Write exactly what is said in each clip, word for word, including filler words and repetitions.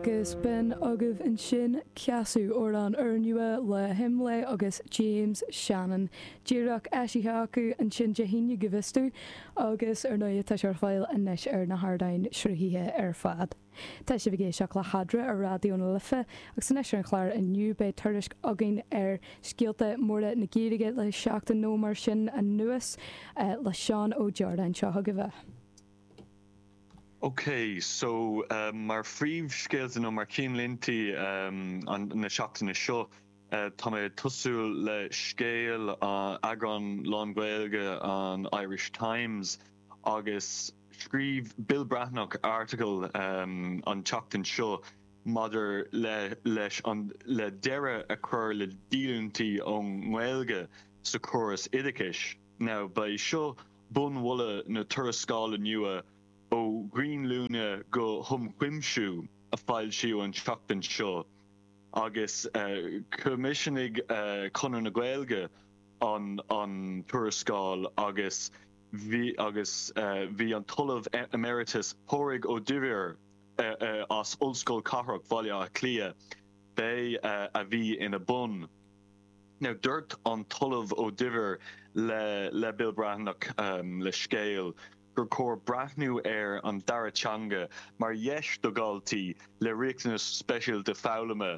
Agus b'in agaibh ansin Ceasú amhrán úrnua le hImlé agus James Shannon. Díreach eisithe acu ansin Dé hAoine go bhfios dom agus ar ndóigh tá sé ar fáil anois ar na hardáin sruthaithe ar fad. Tá sibh ag éisteacht le hEadra ar Raidió na Life agus anois ar an chlár inniu beidh tuairisc againn ar scéalta móra na Gaeilge le seachtain nó mar sin anuas eh, le Seán Ó Direáin seo chugaibh. Ok, so um, mar phríomhscéalta nó mar cheannlínte um, an na seachtaine seo uh, tá mé tosú le scéal uh, eagrán lán-Ghaeilge an Irish Times agus scríobh Bill Breathnach article um, an tseachtain seo maidir le leis an le deireadh a chur le díolúintí ón nGaeilge sa chóras oideachais. Now ba é seo bunmholadh na tuarascála nua ó ghrinnmhúineadh go hionchuimsiú a foilsíodh an tseachtain seo agus uh, choimisiúnaigh uh, Conradh na Gaeilge an an tuarascáil agus bhí agus uh, bhí an tOllamh Emeritus Pádraig Ó Duibhir uh, uh, as Ollscoil Cathrach Bhaile Átha Cliath b'é uh, a bhí ina bun. Now dúirt an tOllamh Ó Duibhir le le Bill Breathnach um, le scéal gur chóir breathnú ar an dara teanga mar dheis do dhaltaí le riachtanas speisialta foghlama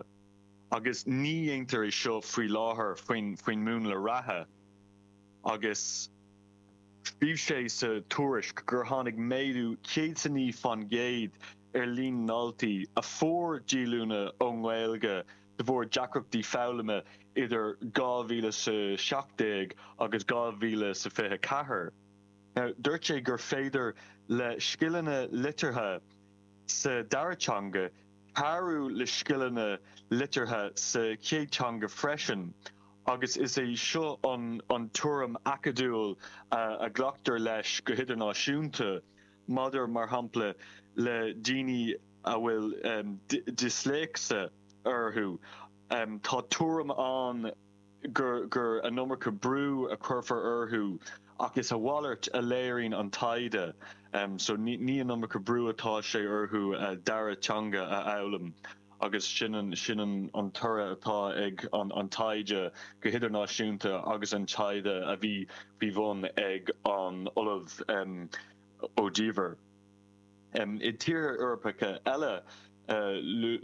agus ní dhéantar é seo faoi láthair faoin faoin múnla reatha agus bhí sé sa tuairisc gur tháinig méadú céad naoi faoin gcéad ar líon daltaí a fuair díolúine ón nGaeilge de bharr deacrachtaí foghlama idir dhá mhíle sa seacht déag agus dhá mhíle sa fiche ceathair. Now, dúirt sé gur féidir le scileanna liteartha sa dara teanga cabhrú le scileanna liteartha sa chéad teanga freisin agus is é seo an an tuairim acadúil uh, a ghlactar leis go hidirnáisiúnta maidir mar shampla le daoine a bhfuil um, disléicse orthu. Um, tá tuairim ann gur gur an iomarca brú a chuirfear orthu ach is a mhalairt a léiríonn an taighde um, so ní, ní an iomarca brú atá sé orthu uh, dara teanga a fhoghlaim agus sin an sin an, an toradh atá ag an, an taighde go hidirnáisiúnta agus an taighde a bhí faoi bhun ag an Ollamh um, Ó Duibhir. Um, I tíortha Eorpacha eile uh,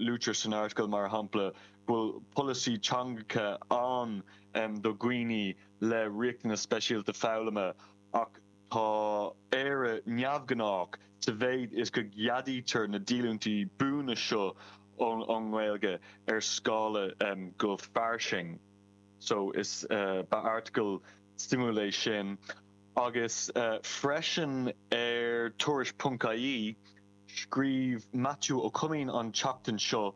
luaitear san article mar shampla bhfuil polasaí teangacha ann um, do dhaoine le riachtanas speisialta foghlama ach tá Éire neamhghnách sa mhéid is go gceadaítear na díolúintí buana seo ón ón nGaeilge ar scála um, go fairsing. So is uh, ba article suimiúil é sin agus uh, freisin ar tuairisc.ie scríobh Matthew Ó Coimín an tseachtain seo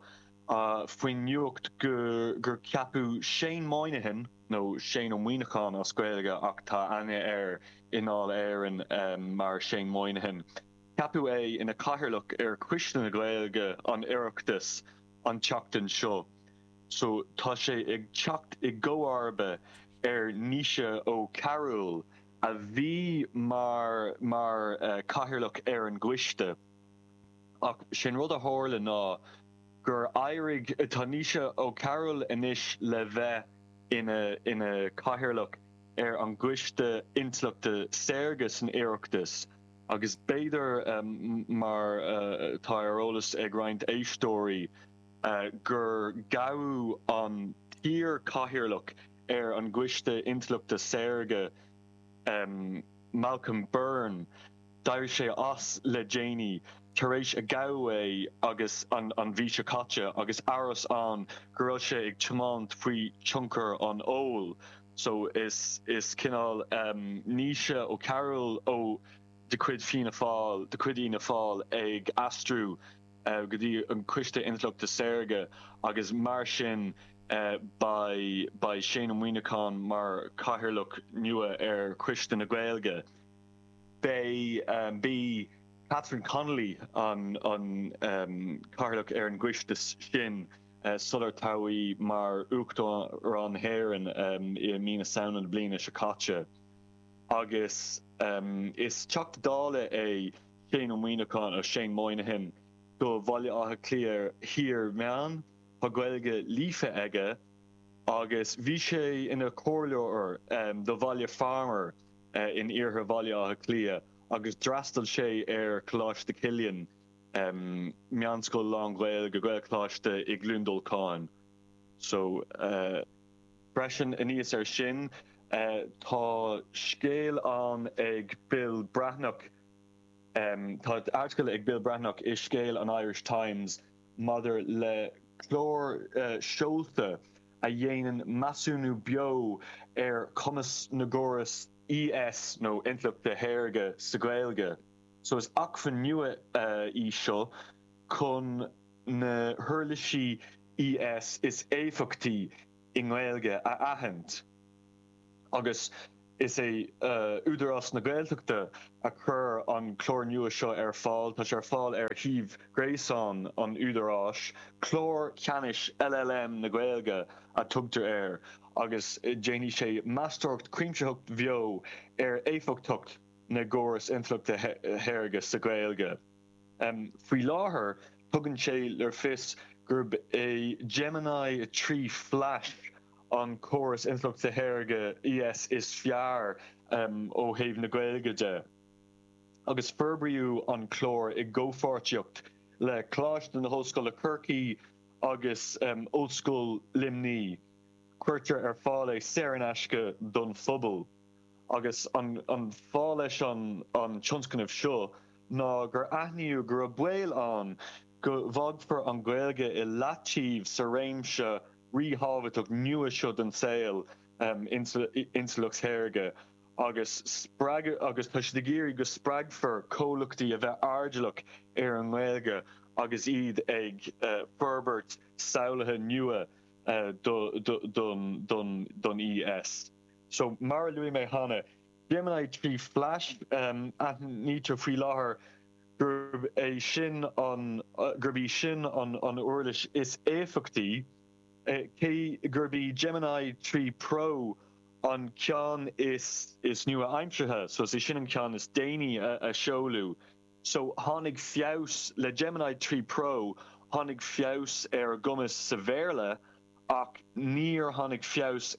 uh, faoin nuacht gur, gur ceapadh Shane Moynihan nó Shane Ó Muimhneacháin as Gaeilge ach tá aithne air i nDáil Éireann um, mar Shane Moynihan. Ceapadh é ina chathaoirleach ar Choiste na Gaeilge an Oireachtais an tseachtain seo. So tá sé ag teacht i gcomharba ar Naoise Ó Cearúil a bhí mar mar uh, cathaoirleach ar an gcoiste. Ach sin rud a tharla ná gur éirigh tá Naoise Ó Cearúil anois le bheith ina ina cathaoirleach ar an gCoiste Intleachta Saorga san Oireachtas agus b'fhéidir um, mar uh, tá ar eolas ag roinnt éisteoirí uh, gur gabhadh an t-iar-chathaoirleach ar an gCoiste Intleachta Saorga um, Malcolm Byrne d'éirigh sé as le déanaí tar éis a gabhadh é agus an, an mhí seo caite agus amhras ann go raibh sé ag tiomáint faoi tionchar an óil. So is is cineál um, Naoise Ó Cearúil ó de chuid Fianna Fáil de chuid Fhianna Fáil ag aistriú uh, go dtí an Coiste Intleachta Saorga agus mar sin uh, beidh beidh Shane Ó Muimhneacháin mar chathaoirleach nua ar Choiste na Gaeilge. Beidh um, bhí Catherine Connolly an an um, cathaoirleach ar an gcoiste sin uh, sular toghadh í mar Uachtarán na hÉireann um, i mí na Samhna na bliana seo caite. Agus um, is Teachta Dála é Shane Ó Muimhneacháin ó Shane Moynihan do Bhaile Átha Cliath Thiar Meán, tá Gaeilge líofa aige agus bhí sé ina chomhairleoir do Bhaile Phámar in iarthar Bhaile Átha Cliath agus d'fhreastail sé ar Choláiste Chilliain, meánscoil lán-Ghaeilge, Gaelcholáiste i gCluain Dolcáin. So freisin aníos air sin tá scéal ann ag Bill Breathnach, tá airteagal ag Bill Breathnach i scéal an Irish Times maidir le clár seolta a dhéanann measúnú beo ar chumas na gcóras I S nó intleachta shaorga sa Ghaeilge. So is acmhainn nua í seo chun na huirlisí I S is éifeachtaí i nGaeilge a aithint. Agus is é Údarás na Gaeltachta a chuir an clár nua seo ar fáil, tá sé ar fáil ar shuíomh gréasáin an Údaráis, Clár Ceannais L L M na Gaeilge a tugtar air agus déanfaidh sé meastóireacht cuimsitheach bheo ar éifeachtacht na gcóras intleachta shaorga sa Ghaeilge. Faoi láthair tugann sé le fios gurb é Gemini trí Flash an córas intleachta shaorga I S is fearr ó thaobh na Gaeilge de. Agus forbraíodh an clár i gcomhpháirtíocht le Coláiste na hOllscoile Corcaigh agus Ollscoil Luimnigh. Cuirtear ar fáil é saor in aisce don phobal. Agus an an fáth leis an an tionscnamh seo ná gur aithníodh go raibh baol ann go bhfágfar an Ghaeilge i leataobh sa réimse ríthábhachtach nua seo den saol intleacht shaorga agus spreag agus tá siad ag iarraidh go spreagfar comhlachtaí a bheith airdeallach ar an nGaeilge agus iad ag forbairt samhlacha nua don don don I S. So mar a luaigh mé cheana, Gemini trí Flash, aithnítear faoi láthair gurb é sin an gurb í sin an an uirlis is éifeachtaí, cé gurb í Gemini trí Pro an ceann is is nua-aimseartha, so is é sin an ceann is déanaí a, a seoladh. So tháinig feabhas le Gemini trí Pro, tháinig feabhas ar a gcumas sa Bhéarla ach níor tháinig feabhas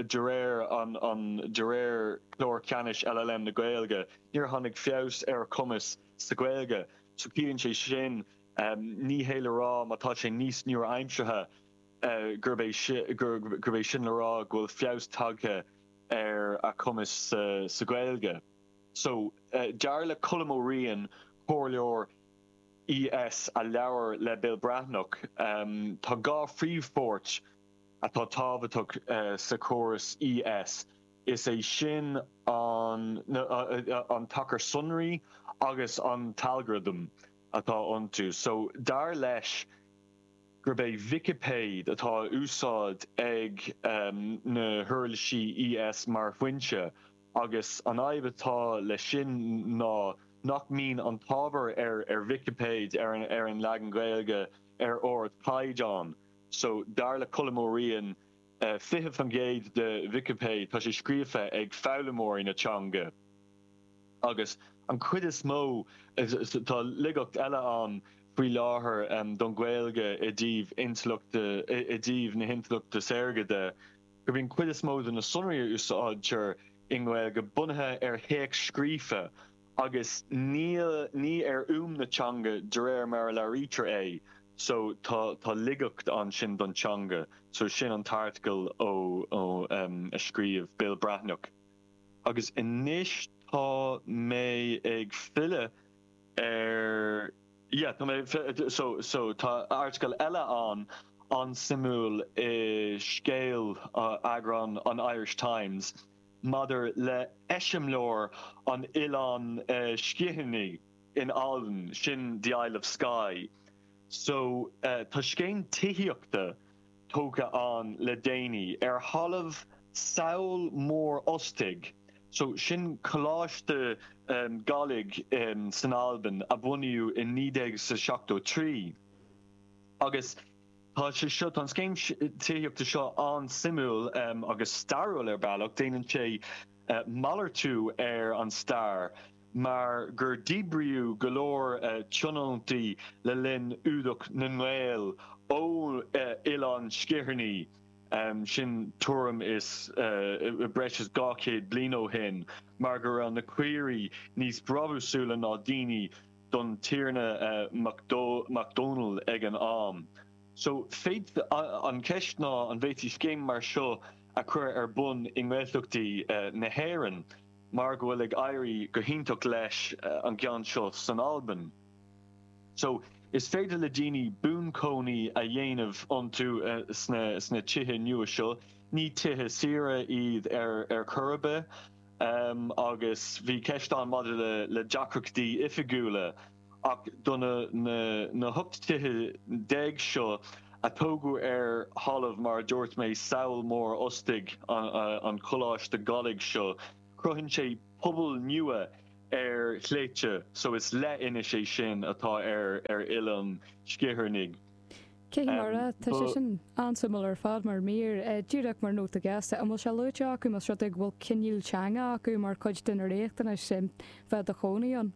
de réir an an de réir clár ceannais L L M na Gaeilge, níor tháinig feabhas ar a cumas sa Ghaeilge, so ciallaíonn sé sin ní hé le rá má tá sé níos nua-aimseartha gurb é gurb é sin le rá go bhfuil feabhas tagtha ar a cumas sa, sa Ghaeilge. So uh, dar le Colm Ó Riain, comhairleoir I S a labhair le Bill Breathnach, um, tá dhá phríomhpháirt atá tábhachtach uh, sa chóras I S. Is é sin an, uh, an tacar sonraí agus an t-algorithm atá iontu. So dar leis gurb é Vicipéid atá úsáid ag um, na huirlisí I S mar fhoinse agus an fhadhb atá leis sin ná nach mbíonn an t-ábhar ar ar Vicipéid ar an ar an leagan Gaeilge ar ardchaighdeán. So dar le Colm Ó Riain uh, fiche faoin gcéad de Vicipéid tá sé scríofa ag foghlaimeoirí na teanga. Agus an chuid is mó tá laigeacht eile ann faoi láthair um, don Ghaeilge i dtaobh intleachta i dtaobh na hintleachta saorga de, go mbíonn cuid is mó de na sonraí a úsáidtear i nGaeilge bunaithe ar théacs scríofa agus níl ní ar fhuaim na teanga de réir mar a labhraítear é, so tá tá laigeacht ansin don teanga, so sin an t-airteagal ó ó um, a scríobh Bill Breathnach. Agus anois tá mé ag filleadh ar yeah, tá mé so so tá airteagal eile an an-suimiúil i scéal uh, eagrán an Irish Times maidir le eiseamláir an Oileáin uh, Sgitheanaigh in Albain, sin the Isle of Skye. So uh, tá scéim tithíochta tógtha ann le déanaí ar thalamh sabhal mór ostaig. So sin coláiste um, Gàidhlig um, san Albain a bunaíodh in naoi déag sa seachtó trí. Agus tá sé seo an scéim tithíochta seo an-suimiúil um, agus stairiúil ar bealach, déanann sé uh, malartú ar an stair mar gur díbríodh go leor tionóntaí le linn fhuadach na nGael ó Oileán Sgitheanach, sin tuairim is breis is dhá chéad bliain ó shin, mar go raibh na caoirigh níos brabúsúla ná daoine don Tiarna Mac Dónaill ag an am. So, an cheist ná an bhféadfaí scéim mar seo a chur ar bun i nGaeltachtaí na hÉireann mar go bhfuil ag éirí go hiontach leis an gceann seo san Albain. So, is féidir le daoine buanchónaí a dhéanamh iontu sna sna tithe nua seo. Ní tithe saoire iad ar ar chor ar bith agus bhí ceist ann maidir le le deacrachtaí oifigiúla ach do na na na hocht tithe déag seo a tógadh ar thalamh mar a dúirt mé Sabhal Mór Ostaig an Choláiste Gàidhlig seo, cruthaíonn sé pobal nua ar shléibhte so is leithinis é sin atá ar ar Oileán Sgitheanach. Cé mar tá sé sin an-suimiúil ar fad mar mír díreach mar nóta gasta an bhfuil sé luaite acu más rud é go bhfuil coinníoll teanga acu mar chuid de na riachtanais sin bheith i do chónaí ann.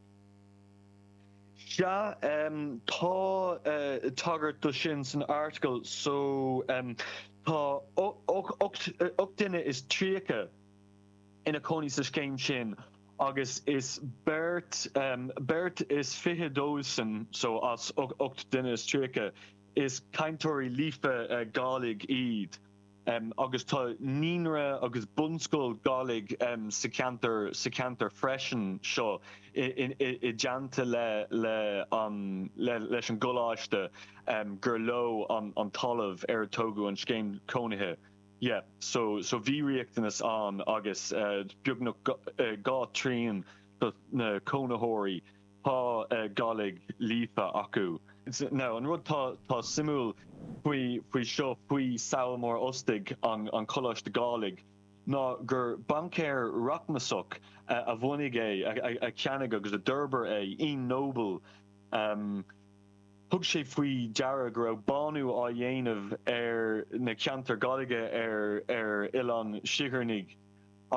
Sea, tá tagairt do sin san article so tá ocht duine is tríocha ina cónaí sa scéim sin agus is beirt beirt is fiche dóibhsean so as ocht duine is tríocha is cainteoirí líofa Gàidhlig iad agus tá naíonra agus bunscoil Gàidhlig sa cheantar sa cheantar freisin seo i dteannta le le an le leis an gcoláiste gur leo an an talamh ar a tógadh an scéim cónaithe. Yeah, so so bhí riachtanas ann agus beagnach dhá trian de na cónaitheoirí tá Gàidhlig líofa acu. Now an rud tá tá suimiúil faoi faoi seo faoi Sabhal Mór Ostaig an an Coláiste Gàidhlig ná gur baincéir rachmasach a bhunaigh é, a cheannaigh agus a d'fhorbair é, Ian Noble. Um, Thug sé faoi deara go raibh bánú á dhéanamh ar na ceantair Gàidhlige ar ar Oileán Sgitheanach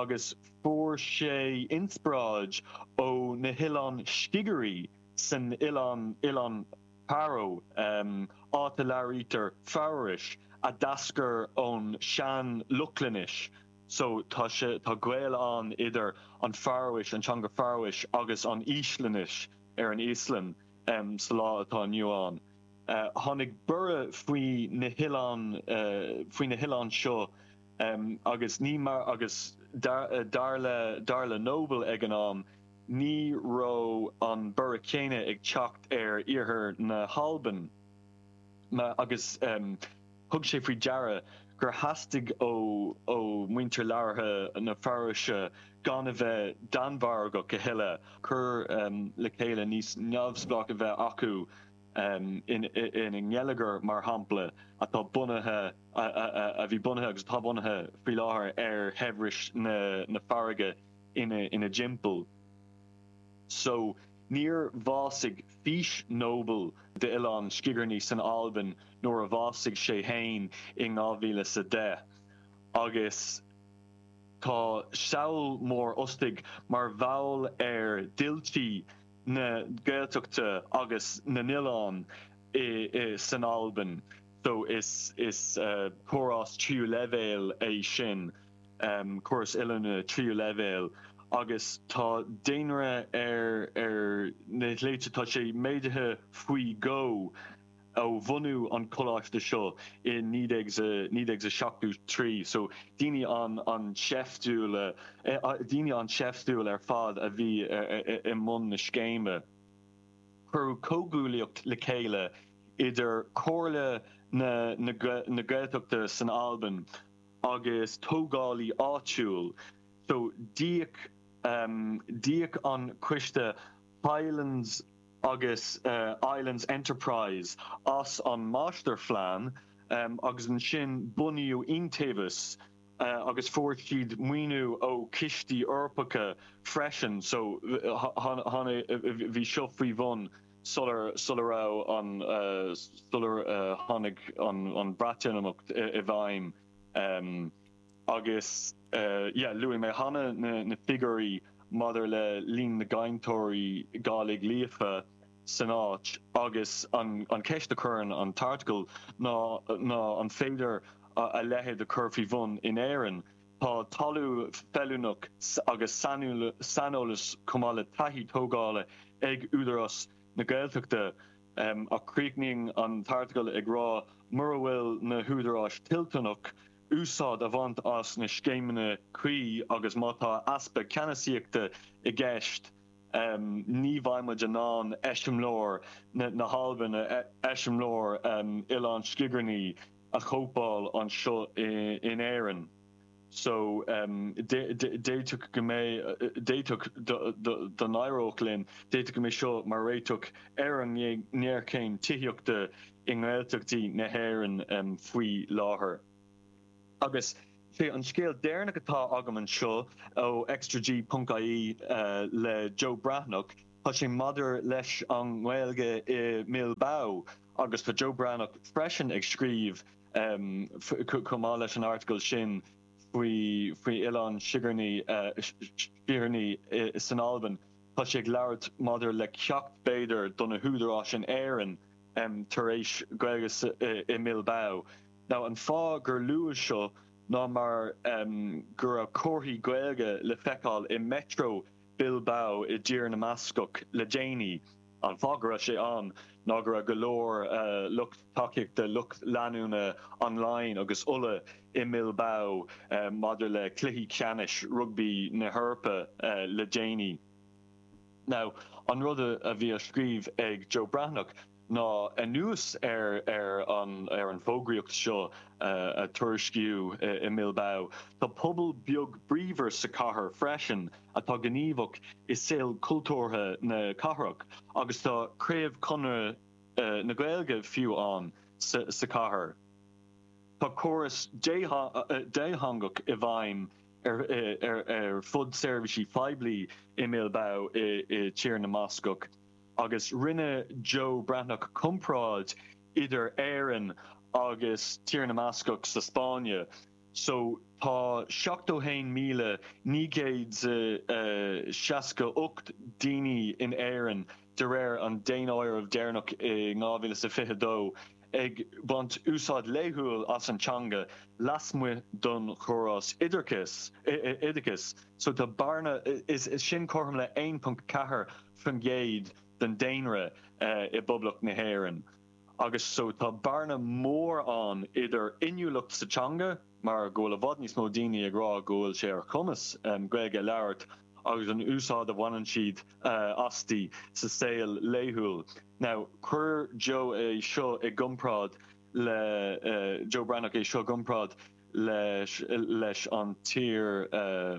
agus fuair sé inspioráid ó na hoileáin Scigirí san oileán Oileán Fharó, áit a labhraítear Faróis, a d'eascair ón sean-Lochlainnis. So tá sé tá gaol ann idir an Faróis, an teanga Faróis agus an Íoslainnis ar an Íoslainn. sa lá atá inniu ann. Tháinig borradh faoi na hoileáin faoi na hoileáin seo agus ní mar agus dar le dar le Noble ag an am ní raibh an borradh céanna ag teacht ar iarthar na hAlban agus thug sé faoi deara gur theastaigh ó ó mhuintir labhartha na Faróise gan a bheith Danmhargach a thuilleadh, cur le chéile níos neamhspleách a bheith acu ina ngeilleagar, mar shampla, atá bunaithe, a bhí bunaithe agus atá bunaithe faoi láthair ar shaibhreas na farraige ina dtimpeall. So, níor bhásaigh fís Noble d'Oileán Sgitheanach san Albain nuair a bhásaigh sé féin in dhá mhíle is a deich agus tá Sabhal Mór Ostaig mar bhall ar d'fhiltí na Gaeltachta agus na n-oileán san Albain so is is córás tríú leibhéal é sin. córas oiliúna tríú leibhéal agus tá daonra ar ar na sléibhte, tá sé méadaithe faoi dhó ó bhunú an choláiste seo i naoi déag naoi déag seachtó trí. So daoine an an seiftiúil daoine an seiftiúil ar fad a bhí i mbun na scéime. Cuireadh comhghuaillíocht le chéile idir Comhairle na na na Gaeltachta san Albain agus tógálaí áitiúil so d'íoc d'íoc an coiste Highlands agus Islands Enterprise as an máistirphlean agus ansin bunaíodh iontaobhas agus fuair siad maoiniú ó chistí Eorpacha freisin so bhí seo faoi bhun sular sula raibh an sular tháinig an Bhreatimeacht i bhfeidhm. Agus yeah luaigh mé cheana na na figiúirí maidir le líon na gcainteoirí Gàidhlig líofa san áit agus an an ceist a chuireann an t-airteagal ná ná an féidir a leithéid a chur faoi bhun in Éirinn. Tá talamh feiliúnach agus saineolas chomh maith le taithí tógála ag Údarás na Gaeltachta ach críochnaíonn an t-airteagal ag rá mura bhfuil na húdaráis toilteanach úsáid a bhaint as na scéimeanna cuí agus má tá easpa ceannasaíochta i gceist ní bheidh muid in ann eiseamláir na hAlban, eiseamláir Oileán Sgitheanach a chóipeáil anseo in Éirinn. So d'fhéadfadh go mbeidh d'fhéadfadh dá n-éireodh linn, d'fhéadfadh go mbeidh seo mar réiteach ar an ngéarchéim tithíochta i nGaeltachtaí na hÉireann faoi láthair. Agus sé an scéal deireanach atá agam anseo ó extraG ponc ie le Joe Breathnach, tá sé maidir leis an nGaeilge i mBilbao agus tá Joe Breathnach freisin ag scríobh chomh maith leis an airteagal sin faoi faoi Oileán Sigearnaí Sgitheanach san Albain. Tá sé ag labhairt maidir le ceacht b'fhéidir do na húdaráis in Éirinn tar éis Gaeilge i mBilbao. Now an fáth gur luadh seo ná mar go raibh comharthaí Gaeilge le feiceáil i Metro Bilbao i dTír na mBascach le déanaí. An fáth go raibh sé ann ná go raibh go leor lucht tacaíochta, lucht leanúna online agus Uladh i mBilbao maidir le cluichí ceannais rugbaí na hEorpa le déanaí. Now, an rud a bhí á scríobh ag Joe Breathnach ná anuas ar ar an ar an bhfógraíocht seo a tuairiscíodh i mBilbao, tá pobal beag bríomhar sa chathair freisin atá gníomhach i saol cultúrtha na cathrach agus tá craobh Chonradh na Gaeilge fiú ann sa sa chathair. Tá córas détheangach i bhfeidhm ar ar ar fud seirbhísí poiblí i mBilbao i i Tír na mBascach. Agus rinne Joe Breathnach comparáid idir Éirinn agus Tír na mBascach sa Spáinne. So tá seachtó haon míle naoi gcéad seasca ocht daoine in Éirinn de réir an daonáireamh deireanach i dhá mhíle is a fiche dó ag baint úsáid laethúil as an teanga lasmuigh don chóras oideachais oideachais. So tá bearna is sin cothrom le aon ponc ceathair faoin gcéad den daonra i bPoblacht na hÉireann. Agus so tá bearna mór ann idir inniúlacht sa teanga, mar go bhfuil i bhfad níos mó daoine ag rá go bhfuil sé ar chumas Gaeilge a labhairt agus an úsáid a bhaineann siad asti sa saol laethúil. Now, chuir Joe é seo i gcomparáid le Joe Breathnach é seo i gcomparáid leis leis an tír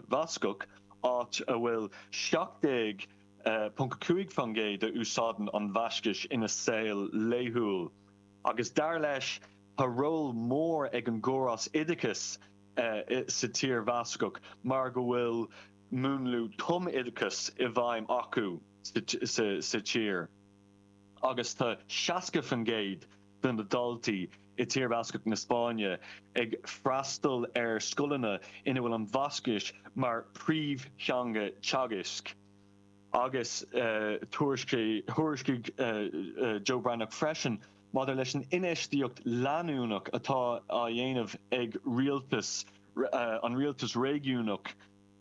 Bhascach, áit a bhfuil seacht déag ponc cúig faoin gcéad a úsáideann an Bhaiscis ina saol laethúil. Agus dar leis, tá ról mór ag an gcóras oideachais sa tír Bhascach mar go bhfuil múnlú tumoideachais i bhfeidhm acu sa tír. Agus tá seasca faoin gcéad de na daltaí i Tír Bhascach na Spáinne ag freastal ar scoileanna ina bhfuil an Bhascais mar phríomhtheanga teagaisc. Agus thuairiscigh Joe Breathnach freisin maidir leis an infheistíocht leanúnach atá á dhéanamh ag rialtas an rialtas réigiúnach.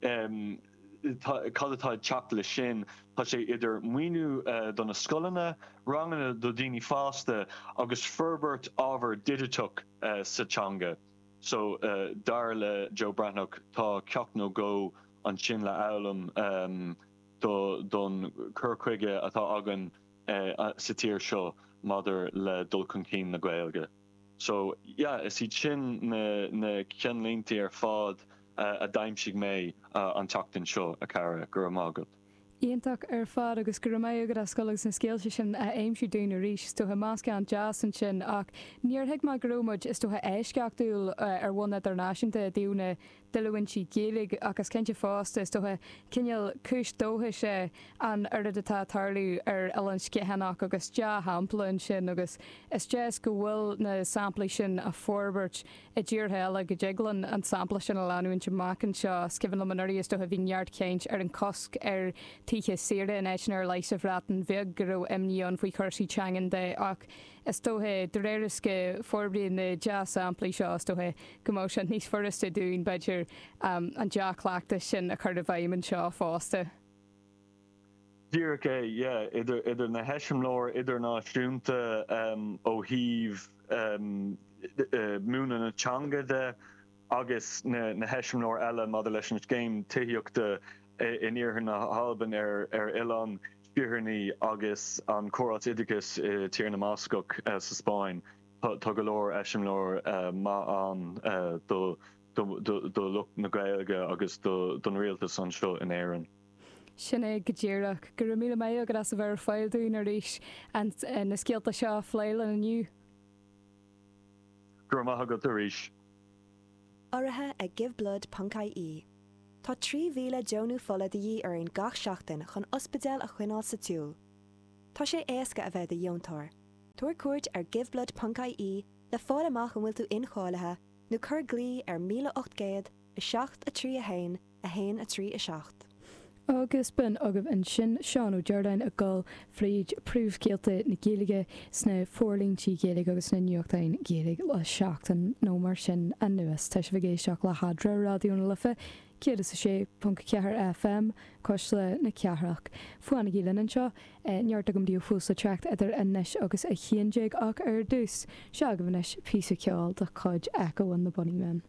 Cad atá ag teacht leis sin? Tá sé idir maoiniú do na scoileanna, ranganna do dhaoine fásta agus forbairt ábhar digiteach sa teanga. So, dar le Joe Breathnach, tá ceacht nó dhó ansin le foghlaim don cur chuige atá againn sa tír seo maidir le dul chun cinn na Gaeilge. So, yeah, is iad sin na na ceannlínte ar fad a d'aimsigh mé an tseachtain seo, a chara. Go raibh maith agat. Iontach ar fad agus go raibh maith agat as dul agus na scéalta sin a aimsiú dúinn arís. Is dócha meascán deas ansin ach níor thuig mé go raibh muid is dócha eisceachtúil ar bhonn idirnáisiúnta i dtaobh na díolúintí Gaeilge ach is cinnte fosta is dócha cineál cúis dóchais é an oiread atá ag tarlú ar Oileán Sgitheanach agus dea-shampla ansin agus is deas go bhfuil na samplaí sin á forbairt i dtíortha eile go dtig linn an sampla sin a leanúint amach anseo. Is cuimhin liom anuraidh is dócha bhí neart caint ar an cosc ar tithe saoire in áiteanna ar leith sa Bhreatain Bheag go raibh imní ann faoi chúrsaí teangan de ach is dócha de réir is go forbraíonn na dea-samplaí seo is dócha go mbeadh sé níos furasta dúinn b'fhéidir an dea-chleachtas sin a chur i bhfeidhm anseo fosta. Díreach é, yeah, idir idir na heiseamláir idirnáisiúnta ó thaobh múineadh na teanga de agus na na heiseamláir eile maidir leis an scéim tithíochta in iarthar na hAlban ar ar Oileán Sgitheanach agus an córas oideachais i Tír na mBascach sa Spáinn. Tá go leor eiseamláir maith ann do do lucht na Gaeilge agus don rialtas anseo in Éirinn. Sin é go díreach. Go raibh míle maith agat as a bheith ar fáil dúinn arís na scéalta seo a phlé linn inniu. Go raibh maith agat arís. Urraithe ag Giveblood ponc ie. Tá trí mhíle deonú fola de dhíth orainn gach seachtain chun ospidéal a choinneáil sa tsiúl. Tá sé éasca a bheith i do dheontóir. Tabhair cuairt ar giveblood ponc ie le fáil amach an bhfuil tú incháilithe nó cuir glao ar míle ocht gcéad, a seacht, a trí, a haon, a haon, a trí, a seacht. Agus b'in agaibh ansin Seán Ó Direáin ag dul fríd príomhscéalta na Gaeilge sna forlíontaí Gaeilge agus sna nuachtáin Ghaeilge le seachtain nó mar sin anuas. Tá sibh ag éisteacht le hEadra, Raidió na Life, céad is a sé ponc ceathair FM, Cuisle na Cathrach. Fanaigí linn anseo, neart agam daoibh fós le teacht idir anois agus a haon déag ach ar dtús, seo agaibh anois píosa ceoil de chuid Echo and the Bunnymen.